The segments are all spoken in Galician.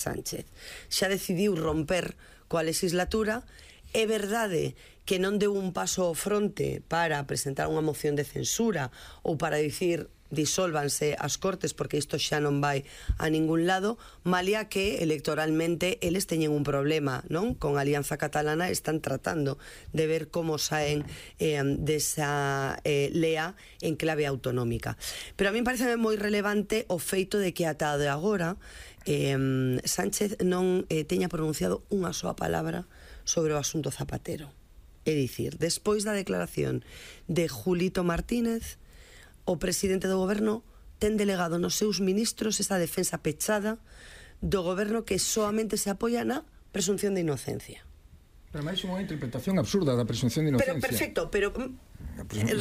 Sánchez xa decidiu romper coa legislatura. É verdade que non deu un paso ao fronte para presentar unha moción de censura ou para dicir disólvanse as Cortes, porque isto xa non vai a ningún lado, malia que electoralmente eles teñen un problema, non? Con a Alianza Catalana están tratando de ver como saen desa lea en clave autonómica. Pero a mí parece moi relevante o feito de que ata de agora Sánchez non teña pronunciado unha soa palabra sobre o asunto Zapatero. É dicir, despois da declaración de Julito Martínez, o presidente do goberno ten delegado nos seus ministros esa defensa pechada do goberno que soamente se apoia na presunción de inocencia. Pero máis unha interpretación absurda da presunción de inocencia. Pero perfecto, pero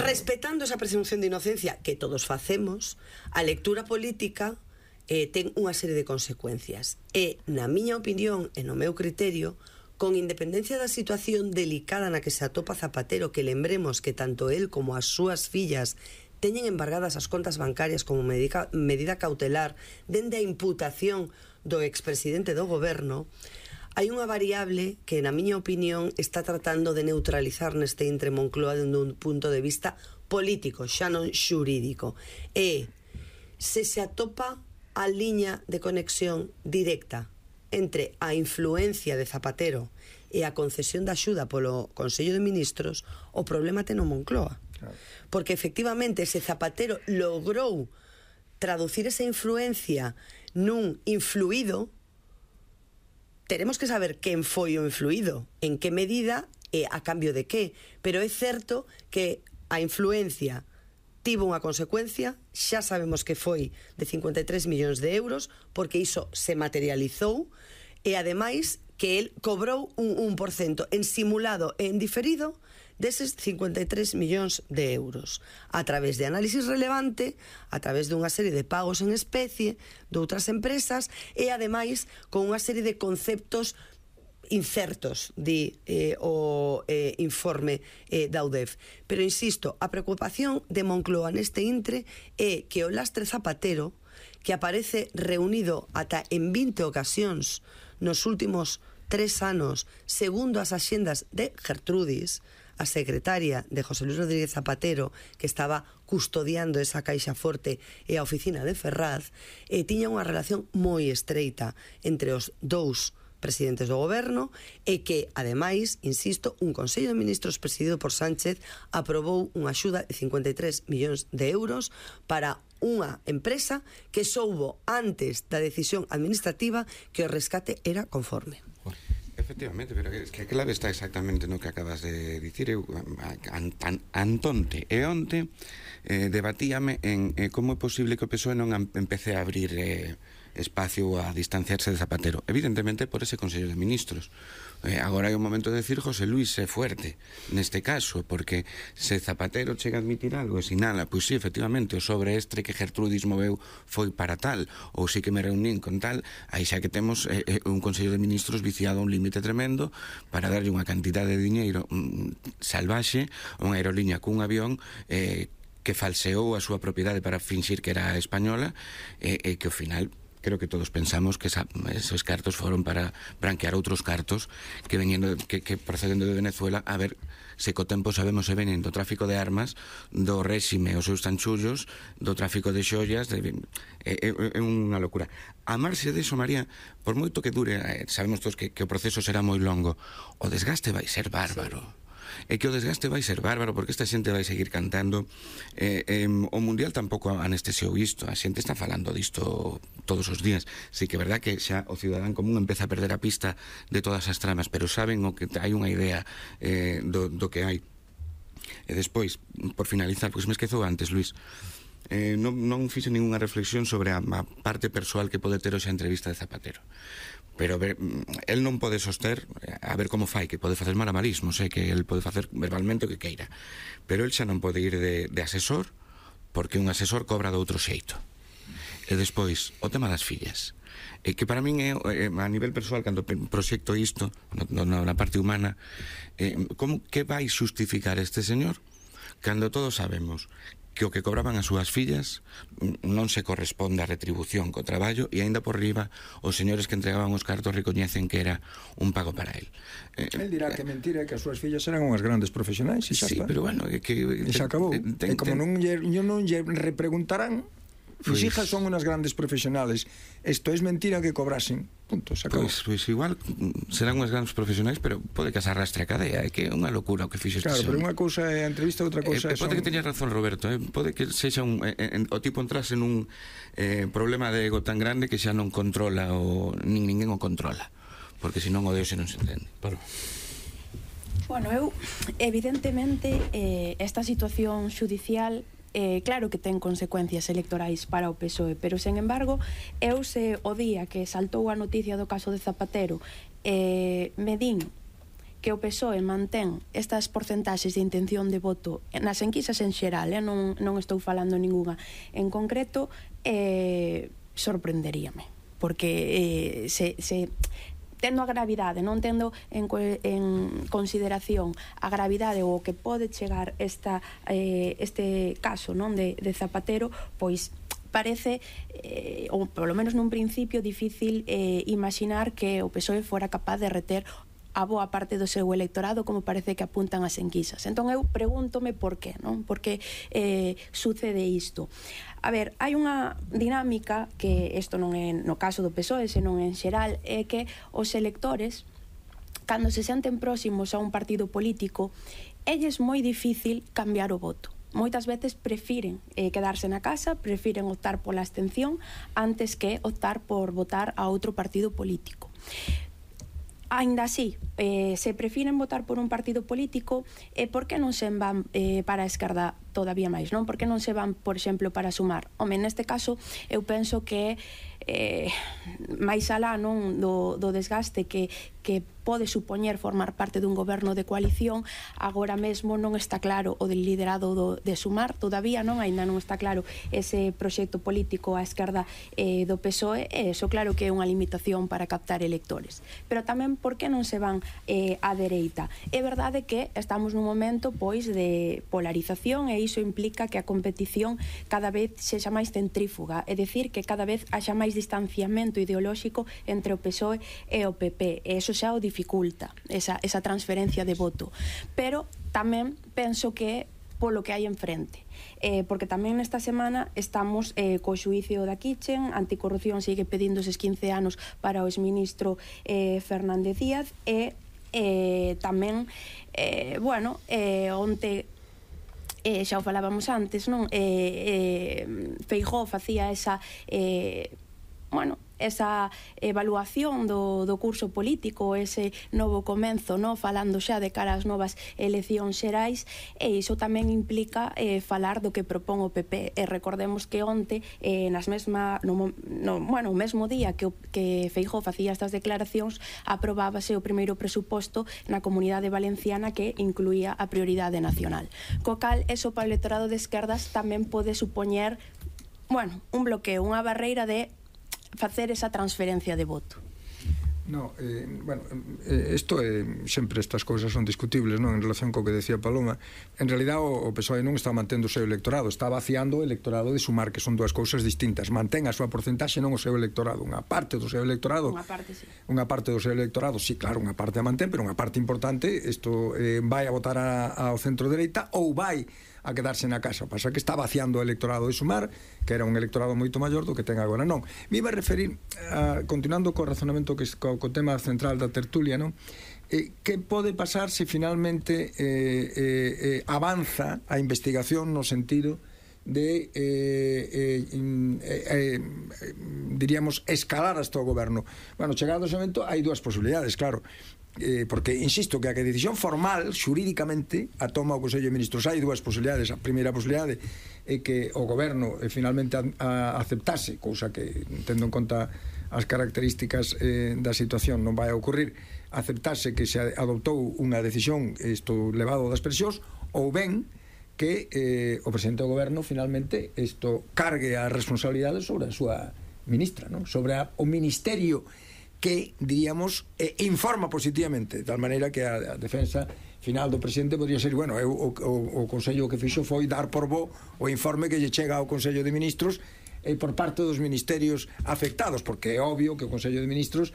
respetando esa presunción de inocencia que todos facemos, a lectura política ten unha serie de consecuencias. E, na miña opinión e no meu criterio, con independencia da situación delicada na que se atopa Zapatero, que lembremos que tanto él como as súas fillas teñen embargadas as contas bancarias como medida cautelar dende a imputación do expresidente do goberno, hai unha variable que, na miña opinión, está tratando de neutralizar neste intre Moncloa dende un punto de vista político, xa non xurídico. E se atopa a liña de conexión directa entre a influencia de Zapatero e a concesión da axuda polo Consello de Ministros, o problema ten o Moncloa. Porque efectivamente se Zapatero logrou traducir esa influencia nun influído, teremos que saber quen foi o influído, en que medida e a cambio de que. Pero é certo que a influencia tivo unha consecuencia, xa sabemos que foi de 53 millóns de euros, porque iso se materializou, e ademais que el cobrou un 1% en simulado e en diferido deses 53 millóns de euros, a través de análisis relevante, a través dunha serie de pagos en especie de outras empresas e, ademais, con unha serie de conceptos incertos, di o informe da UDEF. Pero, insisto, a preocupación de Moncloa neste intre é que o lastre Zapatero, que aparece reunido ata en 20 ocasións nos últimos 3 anos, segundo as axendas de Gertrudis, a secretaria de José Luis Rodríguez Zapatero, que estaba custodiando esa caixa forte e a oficina de Ferraz, tiña unha relación moi estreita entre os dous presidentes do goberno e que, ademais, insisto, un Consello de Ministros presidido por Sánchez aprobou unha axuda de 53 millóns de euros para unha empresa que soubo antes da decisión administrativa que o rescate era conforme. Efectivamente, pero é que a clave está exactamente no que acabas de dicir. Eu antonte e onte debatíame en como é posible que o PSOE non empece a abrir espacio a distanciarse de Zapatero. Evidentemente por ese Consello de Ministros. Agora é o momento de decir José Luis é fuerte neste caso, porque se Zapatero chega a admitir algo e sinala, pois sí, efectivamente, o sobreestre que Gertrudis moveu foi para tal, ou sí que me reunín con tal, aí xa que temos un Consello de Ministros viciado a un límite tremendo para darlle unha cantidade de diñeiro salvaxe a unha aerolínea cun avión que falseou a súa propiedade para finxir que era española e que ao final creo que todos pensamos que esos cartos foron para branquear outros cartos que procedendo de Venezuela, a ver se co tempo sabemos se venen do tráfico de armas do réxime, os seus tanchullos, do tráfico de xoias. É unha locura. A marxe deso, María, por moito que dure, sabemos todos que o proceso será moi longo, o desgaste vai ser bárbaro. É que o desgaste vai ser bárbaro porque esta xente vai seguir cantando. O Mundial tampouco anestesiou isto, a xente está falando disto todos os días. Sí que é verdad que xa o cidadán común empeza a perder a pista de todas as tramas, pero saben o que hai unha idea do que hai. E despois, por finalizar, pois me esquezo antes, Luís, non fixe ninguna reflexión sobre a parte persoal que pode ter hoxe a entrevista de Zapatero. Pero el non pode soster, a ver como fai, que pode facer malabarismos, que el pode facer verbalmente o que queira, pero el xa non pode ir de asesor, porque un asesor cobra de outro xeito. E despois, o tema das fillas, que para min é, a nivel persoal, cando proxecto isto na parte humana, que vai justificar este señor cando todos sabemos que o que cobraban as súas fillas non se corresponde á retribución co traballo, e aínda por riba os señores que entregaban os cartos recoñecen que era un pago para él. El dirá que mentira, que as súas fillas eran unhas grandes profesionais, e xa sí, está. Pero bueno, e xa acabou. E como non lle repreguntarán, mis hijas son unas grandes profesionales, esto es mentira que cobrasen, punto, se acabou. Pois igual serán unhas grandes profesionais, pero pode que se arrastre a cadea, é que é unha locura o que fixo este Claro, señor. pero unha cousa é a entrevista, outra cousa pode que teña razón Roberto, pode que sexa o tipo entrase nun problema de ego tan grande que xa non controla nin ninguén o controla, porque senón o Deus non se entende. Bueno, eu evidentemente esta situación xudicial claro que ten consecuencias electorais para o PSOE, pero, sen embargo, eu se o día que saltou a noticia do caso de Zapatero me din que o PSOE mantén estas porcentaxes de intención de voto nas enquisas en xeral, non estou falando ninguna en concreto, sorprenderíame, porque tendo a gravidade, non tendo en consideración a gravidade ou o que pode chegar este caso, non, de Zapatero, pois parece, ou polo menos nun principio, difícil imaginar que o PSOE fora capaz de reter a boa parte do seu electorado, como parece que apuntan as enquisas. Entón eu pregúntome por qué, non? Por que sucede isto? A ver, hai unha dinámica que isto non é no caso do PSOE, senón en xeral, é que os electores, cando se senten próximos a un partido político, elles moi difícil cambiar o voto. Moitas veces prefiren quedarse na casa, prefiren optar pola abstención antes que optar por votar a outro partido político. Ainda así, se prefiren votar por un partido político, por que non se van para a esquerda todavía máis, non? Por que non se van, por exemplo, para Sumar? Home, neste caso, eu penso que máis alá, non, do desgaste que pode supoñer formar parte dun goberno de coalición, agora mesmo non está claro o del liderado de Sumar, todavía non, ainda non está claro ese proxecto político á esquerda do PSOE, e iso claro que é unha limitación para captar electores. Pero tamén, por que non se van á dereita? É verdade que estamos nun momento, pois, de polarización, e iso implica que a competición cada vez sexa máis centrífuga, é dicir, que cada vez haxa máis distanciamento ideolóxico entre o PSOE e o PP, e iso xa o dificulta esa transferencia de voto. Pero tamén penso que polo que hai enfrente, porque tamén nesta semana estamos co xuízo da Kitchen, Anticorrupción sigue pedindo eses 15 anos para o exministro Fernández Díaz, e tamén onte xa o falábamos antes, non? Feijóo facía esa evaluación do curso político, ese novo comenzo, non? Falando xa de cara ás novas eleccións xerais, e iso tamén implica falar do que propón o PP. E recordemos que onte, o mesmo día que Feijóo facía estas declaracións, aprobábase o primeiro presuposto na Comunidade Valenciana que incluía a prioridade nacional. Co cal, eso para o electorado de esquerdas tamén pode supoñer un bloqueo, unha barreira de facer esa transferencia de voto. No, isto sempre estas cousas son discutibles, non? En relación co que decía Paloma, en realidad o PSOE non está mantendo o seu electorado, está vaciando o electorado de Sumar, que son dúas cousas distintas. Mantén a súa porcentaxe, non o seu electorado. Unha parte do seu electorado, unha parte do seu electorado, sí, claro, unha parte a mantén, pero unha parte importante, isto vai a votar ao centro-dereita ou vai a quedarse na casa. Pasa que está vaciando o electorado de Sumar, que era un electorado moito maior do que ten agora, non? Me iba a referir, continuando co razonamento co tema central da tertulia, non? Que pode pasar se finalmente avanza a investigación no sentido de diríamos escalar hasta o goberno? Bueno, chegado ese momento hai dúas posibilidades, claro, porque insisto que a decisión formal xurídicamente a toma o Consello de Ministros. Hai dúas posibilidades. A primeira posibilidade é que o goberno finalmente aceptase, cousa que tendo en conta as características da situación non vai a ocurrir, aceptase que se adoptou unha decisión isto levado das presións, ou ben que o presidente do goberno finalmente isto cargue a responsabilidade sobre a súa ministra, non? Sobre o ministerio que, diríamos, informa positivamente, de tal maneira que a defensa final do presidente podría ser, bueno, o Consello que fixo foi dar por bo o informe que lle chega ao Consello de Ministros por parte dos ministerios afectados, porque é obvio que o Consello de Ministros